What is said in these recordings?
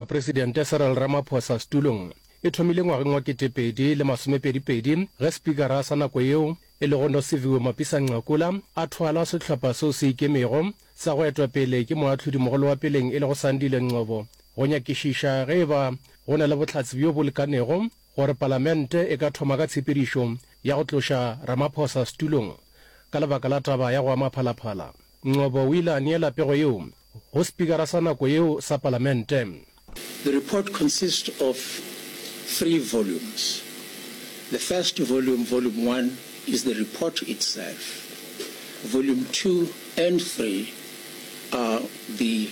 Presidente Cyril Ramaphosa setulong e thomile ngwageng wa 2022 ge Spikara sa nako yeo e lego Nosiviwe Mapisa-Nqakula a thwala sehlopha seo se ikemego sa go etwa pele ke moahlodimogolo wa peleng e lego Sandile Ngcobo go nyakišiša ge e ba go na le bohlatse bjo bo lekanego gore palamente e ka thoma ka tshepedišo ya go tloša Ramaphosa setulong ka lebaka la taba ya go ama Phalaphala. Ngcobo o ile a neela pego yeo go spikara sa nako yeo sa palamente. The report consists of three volumes. The first volume, Volume One, is the report itself. Volume Two and Three are the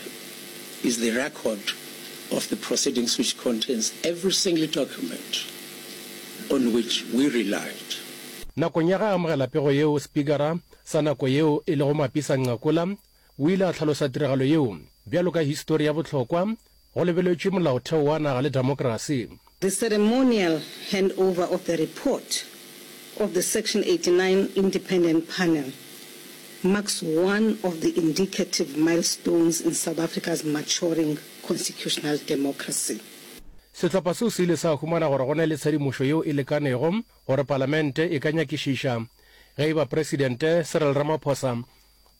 is the record of the proceedings which contains every single document on which we relied. Nakong ya ge a amogela pego yeo, spikara sa nako yeo e lego Mapisa Nqakula o ile a hlalosa tiragalo yeo bjalo ka histori ya bohlokwa go lebeletšwe molaotheo wa naga le demokrasi. The ceremonial handover of the report of the Section 89 Independent Panel marks one of the indicative milestones in South Africa's maturing constitutional democracy. Sehlopha seo se ile sa humana gore go na le tshedimošo yeo e lekanego gore palamente e ka nyakišiša ge e ba Presidente Cyril Ramaphosa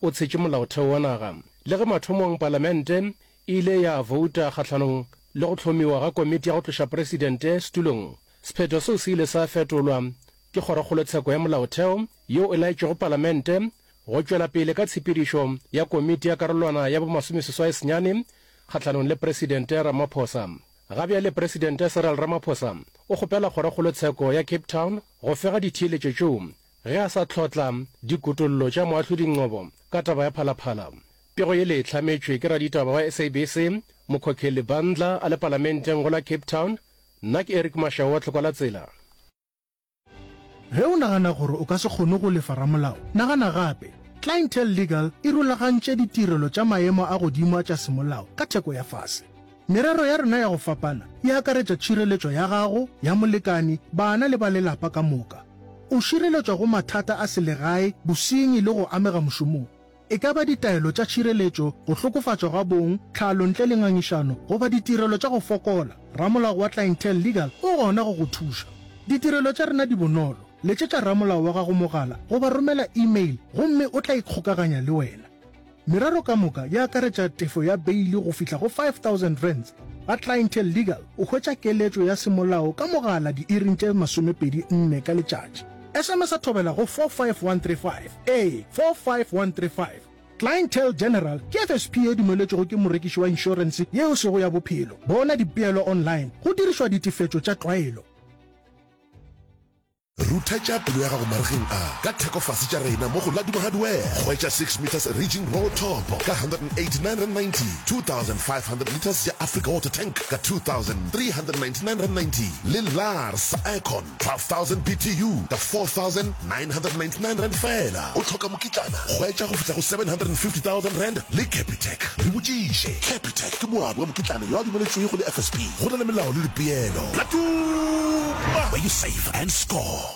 o tshetše molaotheo wa naga. Le ge mathomong palamente e ile ya bouta kgahlanong le go hlomiwa ga komiti ya go tloša presidente setulong, sephetho seo se ile sa fetolwa ke Kgorokgolotsheko ya Molaotheo yeo e laetšego palamente go tšwela pele ka tshepedišo ya komiti ya karolwana ya bomasomeseswai-senyane kgahlanong le Presidente Ramaphosa. Ga bjale Presidente Cyril Ramaphosa o kgopela Kgorokgolotsheko ya Cape Town go fega ditheeletšo tšeo Ge a sa hlotla dikutollo tša Moahlodi Ngcobo ka taba ya Phalaphala. Pego yele e hlametšwe ke raditaba wa SABC, Mokhokheli Bandla a le Palamenteng go la Cape Town. Nna ke Eric Mashau wa Tlhokwa la Tsela. Ge o nagana gore o ka se kgone go lefa ramolao, nagana gape. Clientele Legal e rulagantše ditirelo tša maemo a godimo a tša semolao ka theko ya fase. Merero ya rena ya go fapana e akaretša tšhireletšo ya gago, ya molekani, bana le ba lelapa ka moka. O šireletšwa go mathata a selegae, bosenyi le go amega mošomong. E ka ba ditaelo tša tšhireletšo, go hlokofatšwa ga bong, tlhalo ntle le ngangišano goba ditirelo tša go fokola, ramolao wa Clientele Legal o gona go go thuša. Ditirelo tša rena di bonolo, letšetša ramolao wa gago mogala goba romela email gomme o tla ikgokaganya le wena. Merero ka moka e akaretša tefo ya beili go fihla go R5000. Ga Clientele Legal o hwetša keletšo ya semolao ka mogala diiring tše 24 ka letšatši. SMS-a thobela go 45135, ee, 45135. Clientele General ke FSP ye dumeletšwego ke morekiši wa inšorense ye e sego ya bophelo. Bona dipeelo online go dirišwa ditefetšo tša tlwaelo. Ruthetša pelo ya gago maregeng a ka theko fase tša rena mo go Laduma Hardware. Hwetša 6 metres Raging Roll Top ka R189.90, 2500 litres ya Africa Water Tank ka R2399.90 le Lars Aircon 12000 BTU ka R4999 feela. O hloka mokitlana? Hwetša go fihla go R750,000 le Capitec. Re botšiše. Capitec ke moabi wa mokitlana yo a dumeletšwego le FSP. Go na le melao le dipeelo. Laduma, where you save and score.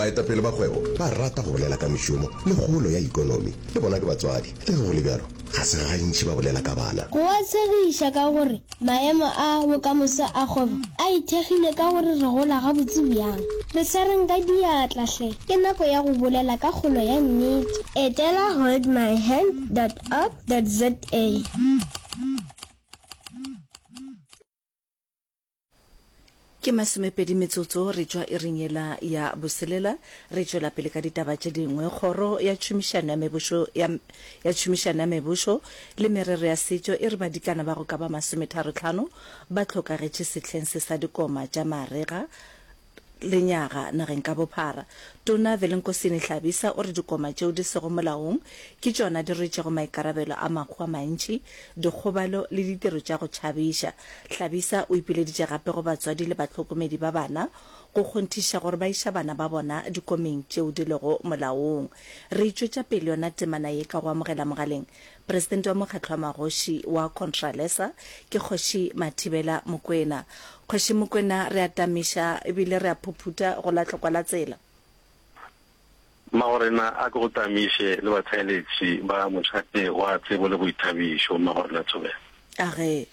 Baetapele ba kgwebo ba rata go bolela ka mešomo le kgolo ya ikonomi. Le bona ke batswadi. Le ge go le bjalo, ga se gantši ba bolela ka bana. Go a tshegiša ka gore maemo a bokamoso a kgwebo a ithekgile ka gore re gola gabotse bjang. Re swareng ka diatla hle, ke nako ya go bolela ka kgolo ya nnete. Etela holdmyhand dot org dot za. Ke masomepedi metsotso re tšwa iring yela ya boselela, re tšwela pele ka ditaba tše dingwe. Kgoro ya Tšhomišano ya Mebošo ya ya Tšhomišano ya Mebošo le Merero ya Setšo e re badikana ba go ka ba masometharotlhano ba hlokagetše sehleng se sa dikoma tša marega lenyaga nageng ka bophara. Tona Velenkosini Hlabisa o re dikoma tšeo di sego molaong ke tšona di rwetšego maikarabelo a mahu a mantši, dikgobalo le ditiro tša go tšhabiša. Hlabisa o ipileditše gape go batswadi le bahlokomedi ba bana go kgonthiša gore ba iša bana ba bona dikomeng tšeo di lego molaong. Re e tšwetša pele yona temana ye ka go amogela mogaleng Presidente wa Mokgatlo wa Magoši wa Contralesa ke Kgoši Mathibela Mokwena. Kgoši Mokwena, re a tamiša ebile re a phuphutha go la tlokwa la tsela. Mmagorena a ke go tamiše le batheeletši ba mošate wa tsebo le boithabišo, Mmagorena Thobela. A ge.